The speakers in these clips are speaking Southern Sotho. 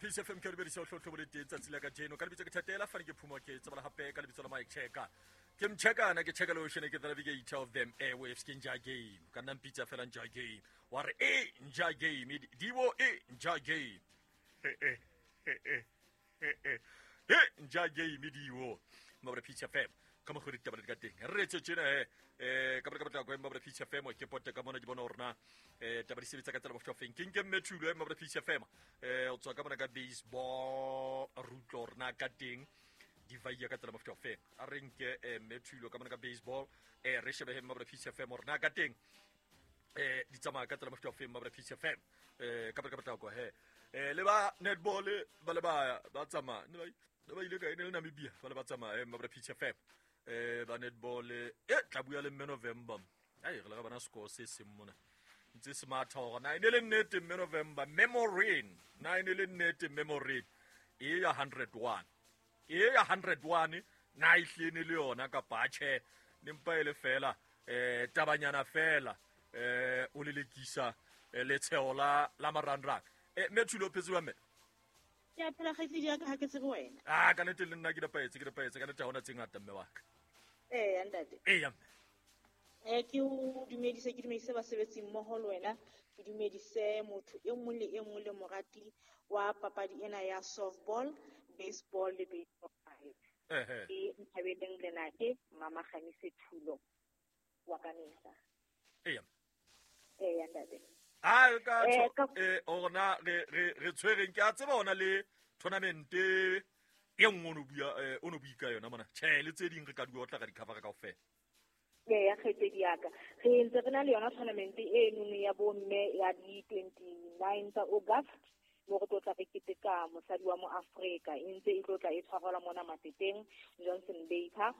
Peace FM ke dumedisa o tlhotlho le teng tsatsi la kajeno ka lebitso ke Thatela fane ke phumo ke tsebala hape ka lebitso la Mike Checker ke mchekana ke cheka lotion ke the navigator of them airwaves ke nja game ka nna mpitsa fela nja game wa re e nja game dibo e nja game e nja game diwo mabra Peace FM ka mokgwa ditaba di ka teng re etse tjena he um ka ka potlako mabra Peace FM ke pote ka mona ke bona gore na um taba di sebetsa ka tsela bofofeng ke nke mme thulo mabra Peace FM um o tswa ka mona ka baseball re utlwa gore na ka teng di vaia ka tsela mofuta ofeng a re nke mme thulo ka mona ka baseball um re shebe he mabra Peace FM gore na ka teng eh di tsamaya ka tsela mofuta ofeng mabra Peace FM eh ka potlako he eh le ba netball ba le ba ba tsamaya ne ba ile ka e ne le Namibia ba le ba tsamaya mabra Peace FM eh ba netball e tla bua le mme November ai re le ga bana score se seng mona ntse se matha gore na e ne le nnete mme November memorin na e ne le nnete memorin e ya 101 e ya 101 na e hlene le yona kapa tjhe ne mpa e le fela tabanyana fela o lelekisa letsheo la la marangrang mme Thulo o phetse jwang mme? Ke a phela kgaitsedi ya ka, ha ke tsebe wena. Ah, ka nnete le nna ke nepahetse, ke nepahetse ka nnete ha hona tse ngata mme wa ka. Eya ntate. Eya mme. Ke o dumedise, ke dumedise basebetsi mmoho le wena, ke dumedise motho e mong le e mong le morati wa papadi ena ya softball, baseball le baseball. Ke Nthabeleng Lenake, Mama Kgamise Thulo wa Kamehla. Eya. Eya ntate. A ka ona re re re tshwereng ke a tseba ona le tournament e nngwe o bua o no bua ka yona mona. Tjhe le tse ding re ka di otla ka di cover kaofela. Eya kgaitsedi ya ka. Re ntse re na le yona tournament e nngwe ya bomme ya di 29 tsa August mo re tlo tla re keteka mosadi wa mo Afrika e ntse e tlo tla e tshwarelwa mona Mateteng Johnson Baker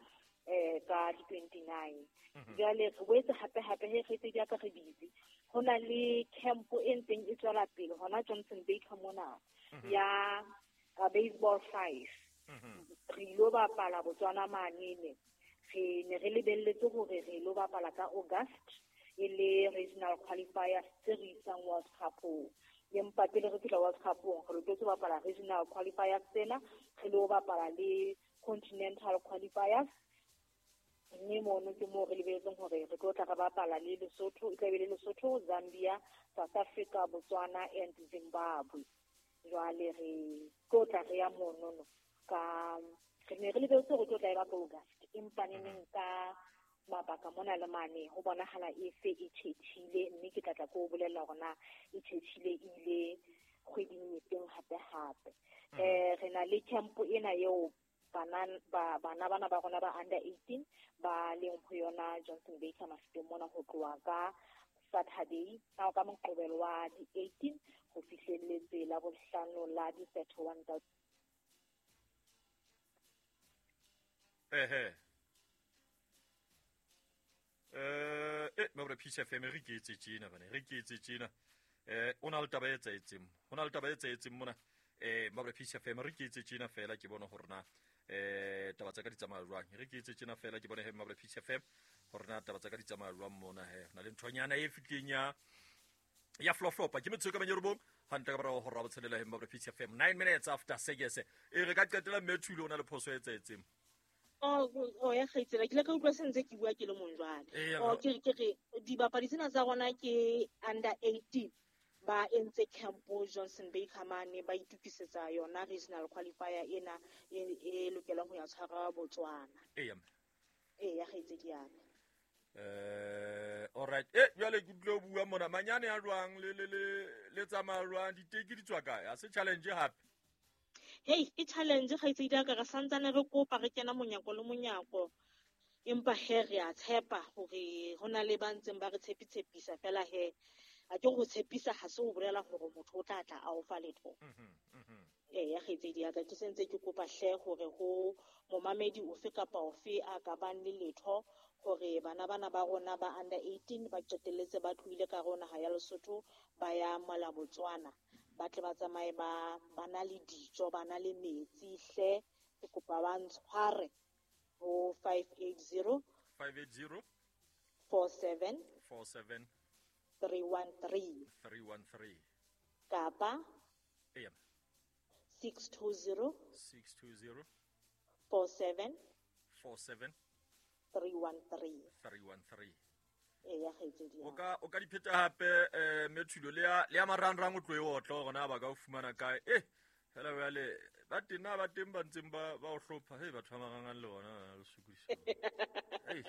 ka di 29. Jwale re boetse hape hape he kgaitsedi ya ka re busy. Ho na le camp e ntseng e tswela pele hona Johnson Baker mona ya baseball 5. Re ilo bapala Botswana manene. Re ne re lebelletse hore re lo bapala ka August e le regional qualifiers tse re isang World Cup-ong. Empa pele re fihla World Cup-ong re loketse ho bapala regional qualifiers tsena, re lo bapala le continental qualifiers. Mme mono ke moo re lebelletseng hore re tlo tla re bapala le Lesotho, e tla be le Lesotho, Zambia, South Africa, Botswana and Zimbabwe. Jwale re tlo tla re ya monono ka re ne re lebelletse hore tlo tla e ba ka August, empa neneng ka mabaka mona le mane ho bonahala e se e tjhetjhile, mme ke tla tla ko bolella hore na e tjhetjhile e ile kgweding e feng hape hape. Re na le camp ena eo bana bana ba rona ba under 18 ba leng ho yona Johnson Baker Mafeteng mona ho tloha ka Saturday ka Moqebelo wa di 18 ho fihlelletse la bohlano la di 31 tsa mabra Peace FM re ke etse tjena bana re ke etse tjena o na le taba e etsaetseng ho na le taba e etsaetseng mona mabra Peace FM re ke etse tjena fela ke bone hore na taba tsa ka di tsamaya jwang re ke etse tjena fela ke bone he mabra Peace FM hore na taba tsa ka di tsamaya jwang mona he na le nthonyana e fitleng ya floflopa ke metsho ka manyerobong hantle ka morao ho rabotshelela he mabra Peace FM 9 minutes after 6 e re ka qetela mme Thulo o na le phoso e etsaetseng. Oh ya kgaitsela ke ile ka utlwa se ntse ke bua ke le mong jwale. Ke re dibapadi tsena tsa rona ke under 18 ba entse camp Johnson Baker mane ba itukisetsa yona regional qualifier ena e lokelang ho ya tshwara Botswana. Eya. Eya kgaitsedi ya ka. All right. Jwale ke tlo bua mona manyane a jwang le le le le tsamaya jwang diteki di tswa kae? Ha se challenge hape. Hey, e challenge kgaitsedi ya ka re santsane re kopa re kena monyako le monyako. Empa he re a tshepa hore ho na le ba ntseng ba re tshepitshepisa fela he a ke go tshepisa ha se o bolela hore motho o tla tla a o fa letho. Eya kgaitsedi ya ka ke sentse ke kopa hle hore ho momamedi ofe kapa ofe a ka bang le letho hore bana bana ba rona ba under 18 ba qetelletse ba tlohile ka rona ha ya Lesotho ba ya mola Botswana ba tle ba tsamaye ba na le dijo ba na le metsi hle ke kopa ba ntshware ho 580 580 47 47 313 313 kapa eya 620 620 47 47 313. 313. Eya kgaitsedi O ya ka o ka di pheta hape mme Thulo le ya marangrang o tlo e otla hore na ba ka o fumana kae. Fela jwale ba teng na ba teng ba ntseng ba o hlopha. Hei, batho ba marangrang le bona le sokodisa. Hei.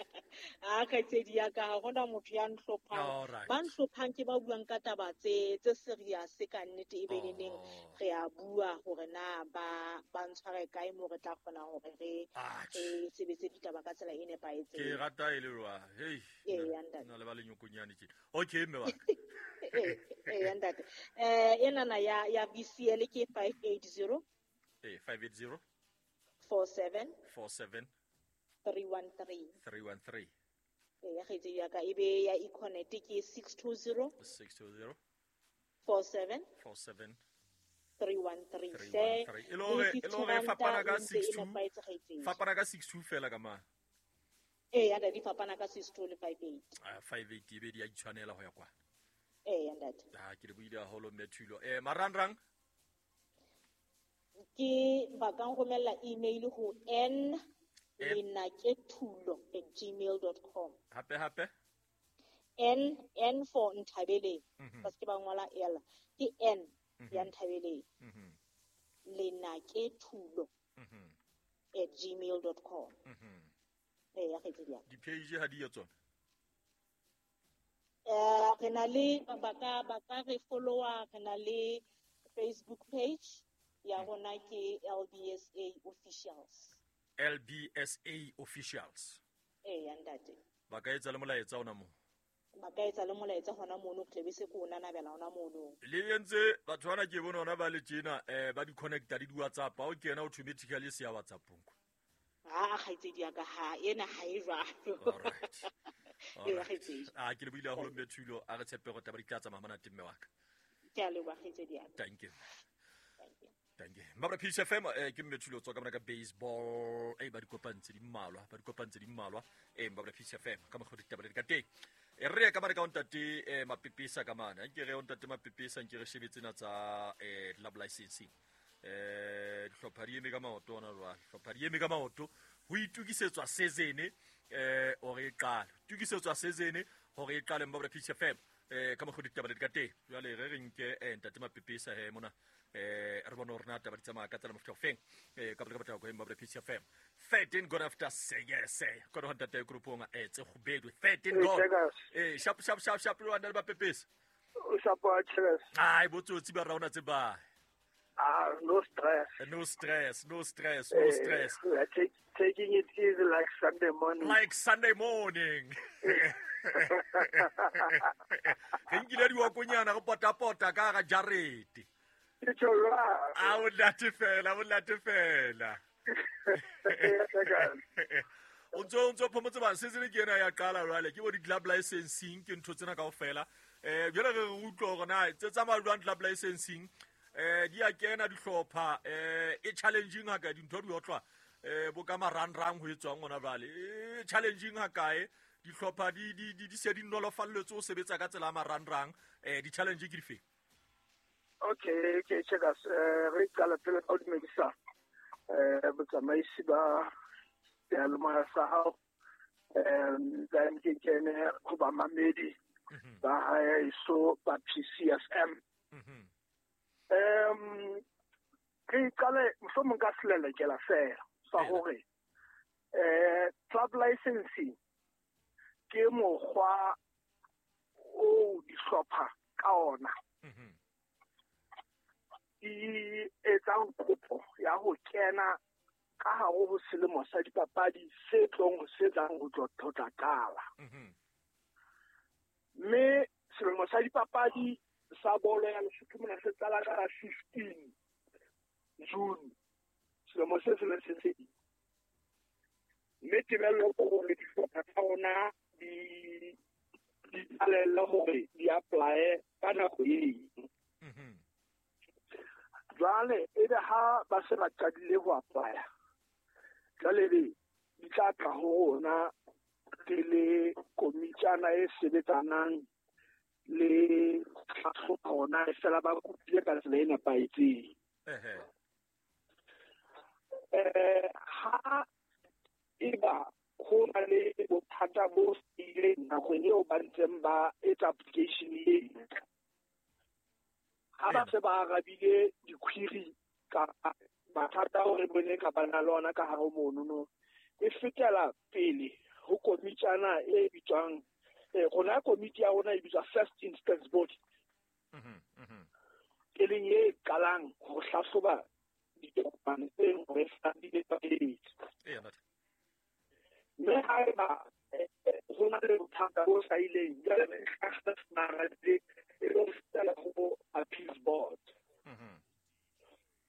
A kgaitsedi ya ka, ha hona motho ya ntlhophang. Ba ntlhophang ke ba buang ka taba tse serious ka nnete, e be neneng re a bua hore na ba ntshware kae mo re tla kgona hore re sebetse ditaba ka tsela e nepahetseng. Ke rata e le jwang. Hei. Nna le ba lenyokonyane tjena. Okay, mme wa ka. Eya ntate. Enana ya VCL ke 580 580 47 47 313. 313. Eya kgaitsedi ya ka, ebe ya Econet ke 620 620 47 47 313. 313. E le hore fapana ka 62. Fapana ka 62 fela ka mang. Eya ntate, di fapana ka 62 le 58. 58 ebe di a itshwanela ho ya kwa. Eya ntate. Ke le buile haholo mme Thulo. Marangrang ke ba ka nromella email ho n lenakethulo@gmail.com. Hape hape N N for Nthabeleng. Ba se ba ngola L, ke N ya Nthabeleng. Lenakethulo @gmail.com. Eya kgaitsedi ya. Di-page ha di yo tsona? Re na le ba ka re follower, re na le Facebook page ya rona ke LBSA Officials. LBSA Officials. Eya ntate. Ba ka etsa le molaetsa ona moo. Ba ka etsa le molaetsa hona mono, tle be se ko nanabela hona mono. Le entse batho bana ke bona hona ba le tjena ba di connecta le di WhatsApp, ha o kena automatically se ya WhatsAppong. Ha kgaitsedi ya ka, ha ena ha e jwalo. All right. Ke le buile haholo mme Thulo, a re tshepe hore taba di tla tsamaya monate mme wa ka. Ke a leboha kgaitsedi ya ka. Thank you. Thank you. Mabra Peace FM, ke mme Thulo tswa ka mona ka baseball. Ba di kopantse di mmalwa, ba di kopantse di mmalwa. Mabra Peace FM ka mokgwa ditaba di ka teng. Re ka mane ka ntate Mapepesa ka mane. Nke re ntate Mapepesa nke re shebe tsena tsa club licensing. Dihlopha di eme ka maoto ona jwale. Dihlopha di eme ka maoto ho itukisetswa season hore e qale. Tukisetswa season hore e qale Mabra Peace FM. Ka mokgwa ditaba di ka teng. Jwale re nke ntate Mapepesa he mona. Re bone hore na taba di tsamaya ka tsela mofuta ofeng. Ka botla ka go Mabra Peace FM. 13 gone after 6. Kona ho ntate groupong tse kgubedu 13 gone. Sharp sharp sharp sharp lo ntate Mapepesa. O sharp wa stress. Ai botsotsi ba raona tse ba. No stress. No stress, no stress, no stress. We are taking it easy like Sunday morning. Like Sunday morning. Re nkile diwakonyana go potapota ka ga jarete. A o late fela, o late fela. O ntso phomotse ba season ke ena ya qala jwale ke bo di club licensing ke ntho tsena kaofela. Jwale re utlwa hore na tse tsamaya jwang club licensing. Di a kena dihlopha e challenging ha ka dintho di otlwa bo ka marangrang ho etswang hona jwale. E challenging ha kae dihlopha di se di nolofalletswe ho sebetsa ka tsela ya marangrang. Di challenge ke dife? Okay, check us. Re qala pele ka ho dumedisa botsamaisi ba seyalemoya sa hao. Then ke kene ho bamamedi ba haeso ba PCFM. Re qale mohlomong ka selelekela fela sa hore club licensing ke mokgwa o dihlopha ka ona di etsang kopo ya ho kena ka hare ho selemo sa dipapadi se tlong ho se tlang ho tlo qala. Mme selemo sa dipapadi sa bolo ya Lesotho mona se qala ka 15 June selemo se se se se. Mme tebello ke hore dihlopha tsa rona di qalelle hore di apply ka nako eo. Jwale ebe ha ba se ba qadile ho apply-a, jwale be di tla tla ho rona re le komitjana e sebetsanang le tlhahlobo hona e fela ba kopile ka tsela e nepahetseng. Ha eba ho na le bothata bo ileng nakong eo ba ntseng ba etsa application eno, ha ba se ba arabile di-query kapa mathata ao re bone kapa na le ona ka hare ho monono, e fetela pele ho komitjana e bitswang rona komiti ya rona e bitswa First Instance Body, e leng e qalang ho hlahloba ditokomane tse hore di nepahetse. Mme haeba ho na le bothata bo hlahileng, jwale e lo fetela ho appeals board.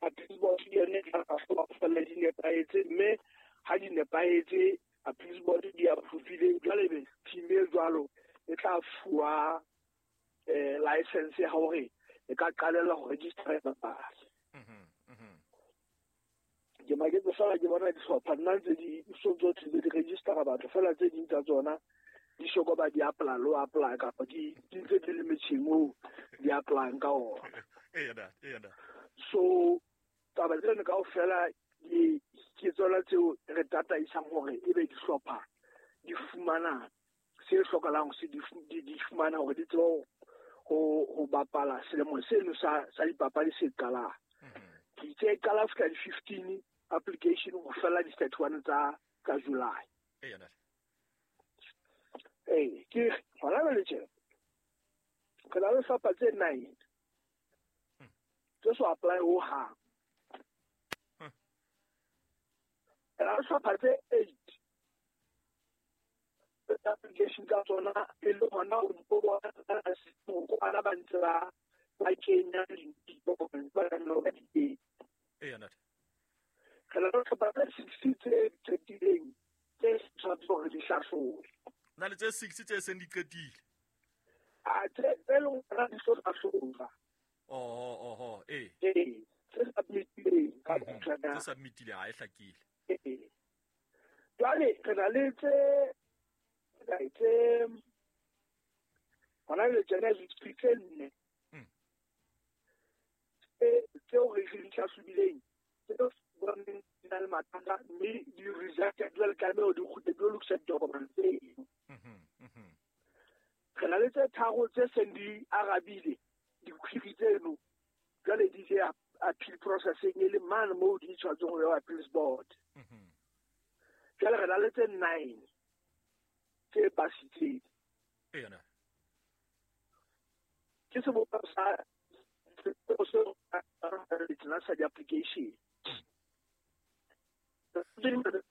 Appeals board ke yone e tla hlahloba ho fella di nepahetse, mme ha di nepahetse appeals board di approve-ile, jwale ebe team e jwalo e tla fuwa license ya hore e ka qalella ho register dipapadi. Ke maketse fela ke bona dihlopha nna ntse di so tsohle di registera batho fela, tse ding tsa tsona di soka ba di apply lo apply kapa di ntse di le metjheng oo di applyang ka ona. So taba tseno kaofela ke tsona tseo re tataisang hore ebe dihlopha di fumana se hlokahalang, se di fumana hore di tsebe ho bapala selemo seno sa dipapadi se qalang. Ke itse e qala fihla di-15 application ho fela di-31 tsa July. Ee, ke hona jwale tjena re na le hlopha tse 9 tse so apply ho hang. Re na le hlopha tse 8 application tsa tsona e le hona o bona ba ntse ba kenya ditokomane ba nang le di teng. Re na le hlopha tse 60 tse qetileng tse tshwanetse hore di hlahlobe. Na le tse 60 tse seng di qetile? A tse leng hore di so hlahloba. Oho, ee. Ee, tse submitileng ka botjhana. Tse submitile ha e hlakile. Ee. Jwale re na le tse hona le tsena tse 4 tseo re di hlahlobileng, tseo boneng di na le mathata mme di rejected, jwale tlameha di kgutle di lokisa ditokomane tseo. Re na le tse 3 tse seng di arabile di-query tseno, jwale di ile appeal processing e le mane moo di tshwanetseng ho ya appeals board. Jwale re na le tse 9 tse pasitseng. Ke sebopeho sa sa di-application. Tse 9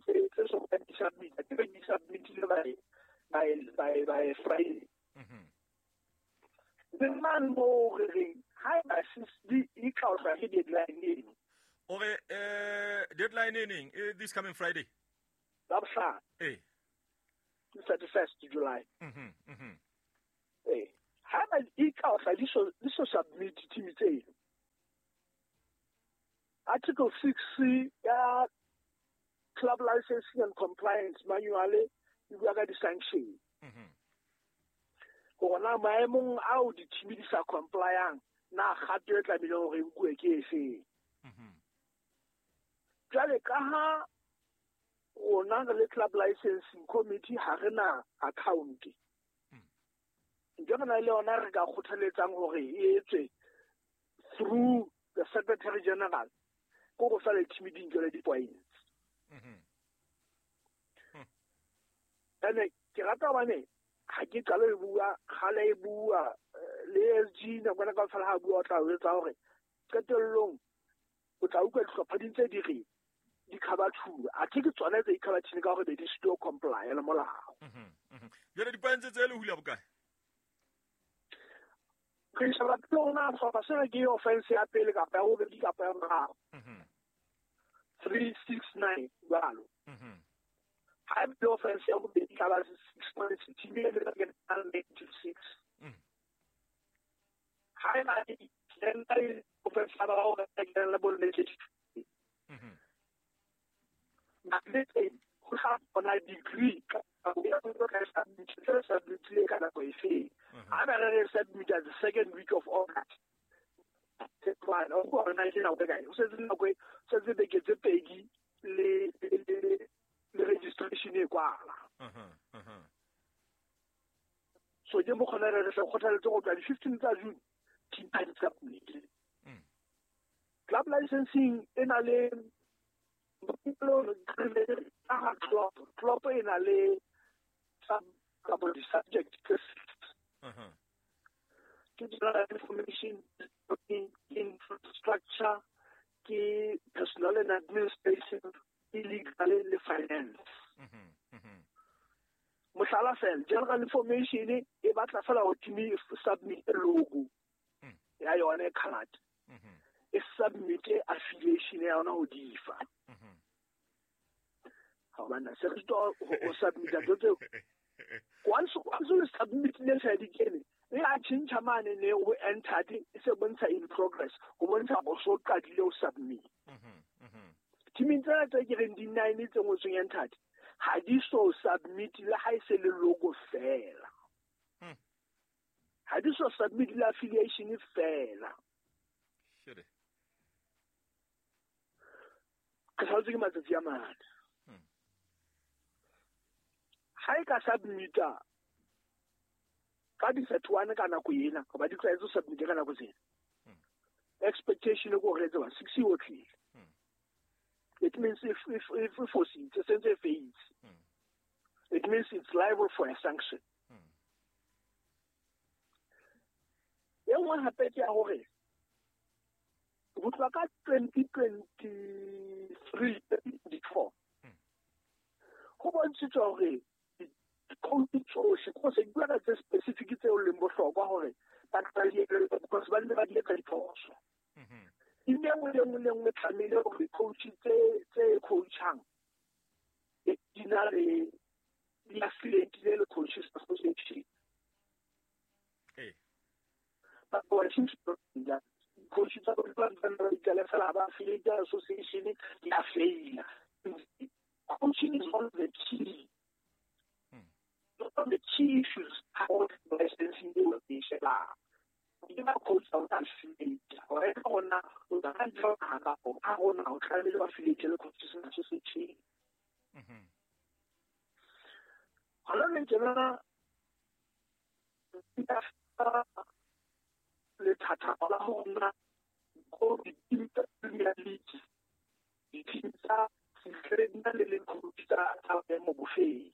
tse so ka di submit, ke di submitile by Friday. The man mo re reng haeba di tla ke deadline eno. Ore deadline e neng? This coming Friday. Labohlano. Ee. 31st July. Ee. Haeba di tla di so submit team tseno. Article 6 ya Club Licensing and Compliance Manual e bua ka di-sanction. Hore na maemong ao di-team di sa complyang, na kgato e tlamehile hore e nkuwe ke efeng. Jwale ka ha rona re le Club Licensing Committee ha re na account. Ntho re na le yona re ka kgothaletsang hore e etswe through the Secretary General, ko go fa le team di nkele di-points. Ene ke rata hobane ha ke qale e bua, kgale e bua le SG nakwana kaofela ha bua o tla o etsa hore qetellong o tla utlwa dihlopha di ntse di re di khabathuwa, athe ke tsona tse ikhabathile ka hore be di sito comply le molao. Jwale di-points tse le hula bokae? Re sheba pele hore na sehlopha sena ke offense ya pele kapa ya bobedi kapa ya boraro. 3, 6, 9 jwalo. Ha e offense ya bobedi ka ba 6 points, team e le ka negative 6. Ha e ba e offense ya boraro ka kena le bol negative. Matletse ho tla bona degree ka ya go ka submit ka nako efe. Ha ba re submit the second week of August. O setse nako setse beke tse pedi le registration e kwala. So ke mo kgona re kgothaletse go tla di 15 tsa June team a di submit. Club licensing e na le club e na le subject ke general information, infrastructure, ke personal and administration, ke legal le finance. Mohlala fela, general information e batla fela go team e submit logo ya yone card. E submit affiliation ya yona ho difa. Ha bana se re to o submit tseo. Once o submit le sa di kene, e a tjhentjha mane ne o entered e se bontsha in progress, go bontsha go so qadile o submit. Team tsena tse ke reng di 9 tse ngotsweng entered ha di so submit le ha e se le logo fela. Ha di so submit le affiliation fela. Ke salletse ke matsatsi a mane. Ha e ka submita ka di 31 ka nako ena, ba di tlwaetse ho submit ka nako tsena. Expectation e ko re tseba 6 o tlile. It means if foreseen, it's a phase. It means it's liable for a sanction. E nngwe hape ke ya hore ho tloha ka 2023 24 ho bontshitswe hore coach tsohle ko se bua ka tse specific tseo leng bohlokwa hore ba tla di etsa because ba ne ba di etsa diphoso. E nngwe le nngwe le nngwe tlamehile hore coach tse coachang di na le di affiliate le coaches association. Ba coaches tsa ba ba fela ba affiliate association di a faila. Coaching is one of the key issues how licensing will be sheba. Ke ba coach o tla affiliate hore ka rona o tla ntsha ka ka rona o tlamehile ba affiliate le coaches association. Hona le tjena le thata la hona go di-team tsa Premier League, di-team tsa le le coach tsa boemo bofeng.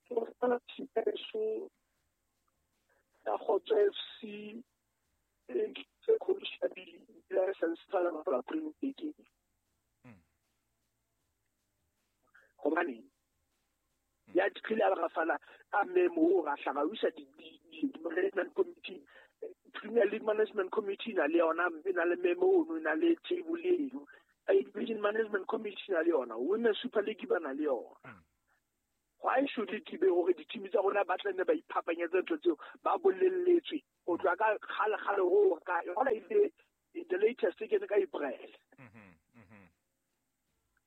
Go tsala tshipeso ya Kgotso FC e ke coach ya di-license tsa la bapala Premier League. Hobane ya tlile a ga fana a memo o ga hlaga o isa di management committee, Premier League management committee na le yona e na le memo ono, e na le table eno. Division management committee na le yona, Women Super League ba na le yona. Why should it be hore di-team tsa rona ba tla nne ba iphapanyetse ntho tseo ba bolelletswe ho tloha ka kgale kgale ho ka yona ile the latest ke ne ka April.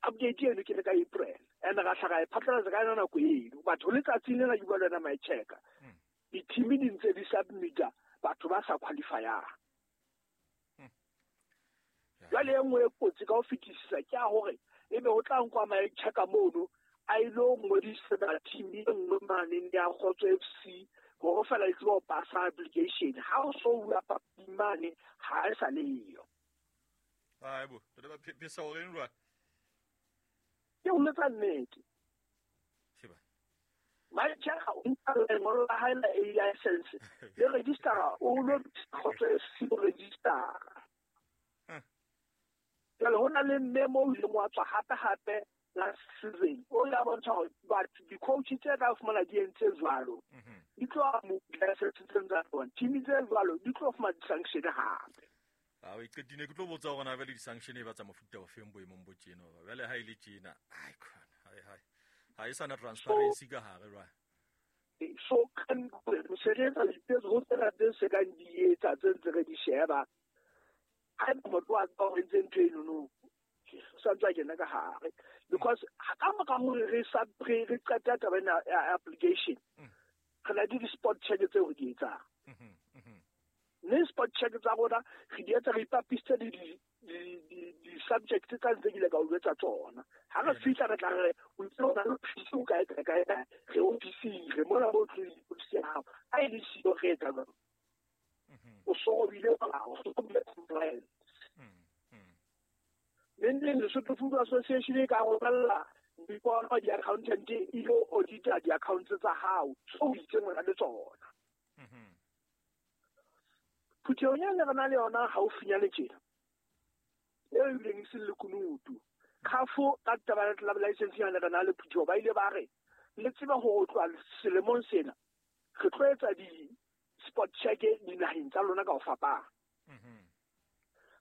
Update eno ke ne ka April and ga hlaga e phatlalatsa ka yona nako eno. Batho letsatsing lena ke bua le wena my checker. Di-team di ntse di submita batho ba sa qualifyang. Jwale e nngwe e kotsi ka ho fetisisa ke ya hore ebe ho tla nkwa my checker mono a ilo ngodisetsa team e nngwe mane ya Kgotso FC hore fela e tsebe ho pasa application. Ha o so bua papading mane ha e sa le yo. Ai bo, re ba phesa hore eng jwale? Ke o letsa nnete. My checker o nka lengolo la hae la A license le registera o lo Kgotso FC o registera. Jwale ho na le memo o ileng wa tswa hape hape last season o ya bontsha hore batho di-coach tse ka fumana di entse jwalo di tlo license tsa bona, team tse jwalo di tlo fumana di-sanction hape. A o iqetile ke tlo botsa hore na jwale di-sanction e ba tsa mofuta ofeng boemong bo tjena. Jwale ha e le tjena, ai khona, hai hai. Ha e sana transparency ka hare jwale. So kan se re etsa dipetso ho tsena tse se kang di etsa tse ntse re di sheba. Ha motho a tswa ho entse ntho eno no sa ntse a kena ka hare because ka mora hore re re qeta taba ena ya application Re na le di-spot check tseo re di etsang. Mme spot check tsa rona re di etsa re ipapisitse le di-subject tsa ntse ke ile ka o jwetsa tsona. Ha re fihla re tla re o itse o na le ofisi o kae kae kae kae, re ofising, re mona mo tlong ofisi ya hao. Ha e le siyo re etsa jwang? O so robile molao, o so robile compliance. Neng neng Lesotho Football Association e ka romella dipono di-accountant e ilo audita di-accounts tsa hao tseo o itseng o na le tsona. Phuthehong e ne re na le yona haufinyane tjena, eo ebileng e seng lekunutu, CAF ka taba ya club licensing ha ne re na le phutheho, ba ile ba re le tsebe hore ho tloha selemong sena re tlo etsa di-spot check dinaheng tsa lona ka ho fapana.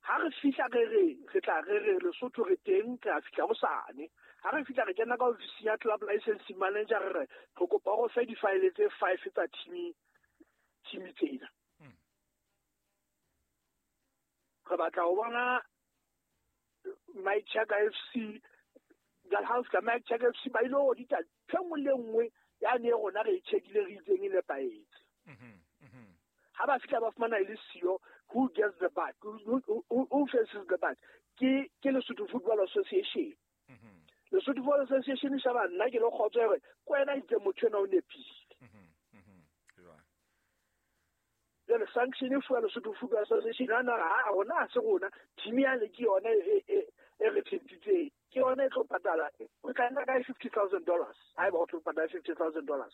Ha re fihla re re re tla re re Lesotho re teng, re a fihla hosane. Ha re fihla re kena ka ofising ya club licensing manager, re re re kopa o re fe di-file tse 5 tsa team tsena. Re batla ho bona Mike Chaka FC, jwale ha o fihla Mike Chaka FC ba ile ho audita ntho e nngwe le nngwe ya ne rona re e check-ile re itseng e nepahetse. Ha ba fihla ba fumana e le siyo, who gets the buck? Who faces the buck? Ke Lesotho Football Association. Lesotho Football Association e sheba nna ke le kgotso hore ke wena itseng motho enwa o nepile. Jwale sanction e fuwa Lesotho Football Association, ha na ha rona ha se rona, team ya le ke yona e re tshepitseng. Ke yona e tlo patala. O tla nka kae $50,000? Ha eba o tlo patala $50,000.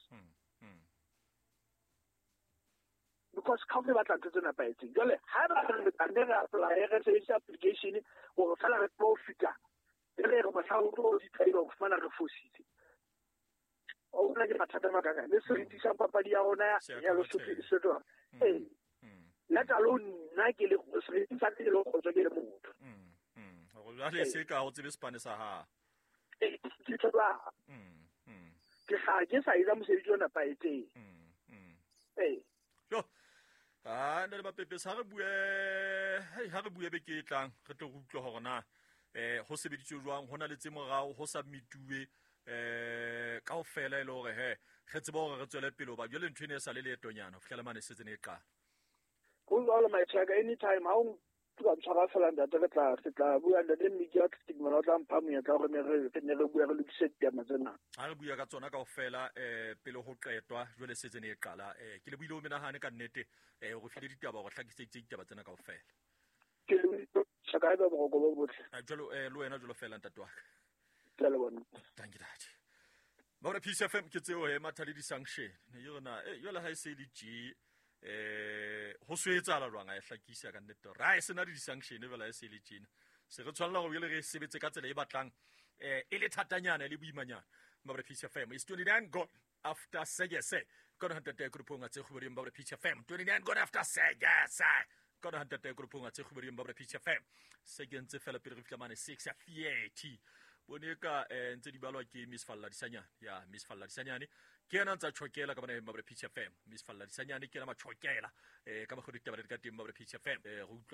Because CAF e batla ntho tse nepahetseng. Jwale ha eba re tla nne re apply, re sebedise application hore feela re tlo fihla, e re re mohla o tlo audita ebe o fumana re fositse. O bona ke mathata a makakang. Le seriti sa papadi ya rona ya Lesotho e se tloha. Ee. Let alone nna ke le seriti sa ka ke le kgotso ke le motho. Hore jwale se ka o tsebe sepane sa hao. Ee, ke tseba. Ke hlaha ke sa etsa mosebetsi o nepahetseng. Ee. Jo. Ah, nna le Mapepesa, ha re bue, hei, ha re bue beke e tlang, re tlo re utlwe hore na, ho sebeditswe jwang, ho na le tse morao, ho submituwe, kaofela e le hore he, re tsebe hore re tswele pele hoba jwale ntho ena e sa le leetonyana ho fihlela mane e setse ne e qala. Ho jwalo, my check, anytime, ha o ka ntshwara fela ntate, re tla bua ntate Mmiki wa Athletic mona, o tla mpha monyetla hore re ne re bue, re lokise ditaba tsena. Ha re bua ka tsona kaofela, pele ho qetwa, jwale setse ne e qala. Ke le buile o menahane ka nnete, o re file ditaba, o re hlakiseditse ditaba tsena kaofela. Ke le buile, Chaka, ebe boroko bo botle. Jwalo, le wena jwalo fela ntate wa ka. Ke a leboha. Thank you, Dad. Ba re Peace FM ke tseo he matha le di-sanction. Ne ke re na, jwale ha e se le tje, ho so etsahala jwang a e hlakisa ka nnete hore ha e sena le di-sanction fela e se le tjena. Se re tshwanela hore jwale re sebetse ka tsela e batlang, e le thatanyana, e le boimanyana. Ba re Peace FM, it's 29 gone after sekese. Kona hantate grupong a tse kgubeding ba re Peace FM. 29 gone after sekese. Kona hantate grupong a tse kgubeding ba re Peace FM. Se ke ntse fela pele re fihla mane 6 ya 30. Bone ka, ntse di balwa ke Miss Falla Disanyane. Ya, Miss Falla Disanyane. Ke yena ntsa tjhokela ka bana ba re Peace FM. Miss Falla Disanyane ke yena matjhokela. Ka mokgwa ditaba di ka teng ba re Peace FM. Re utlwa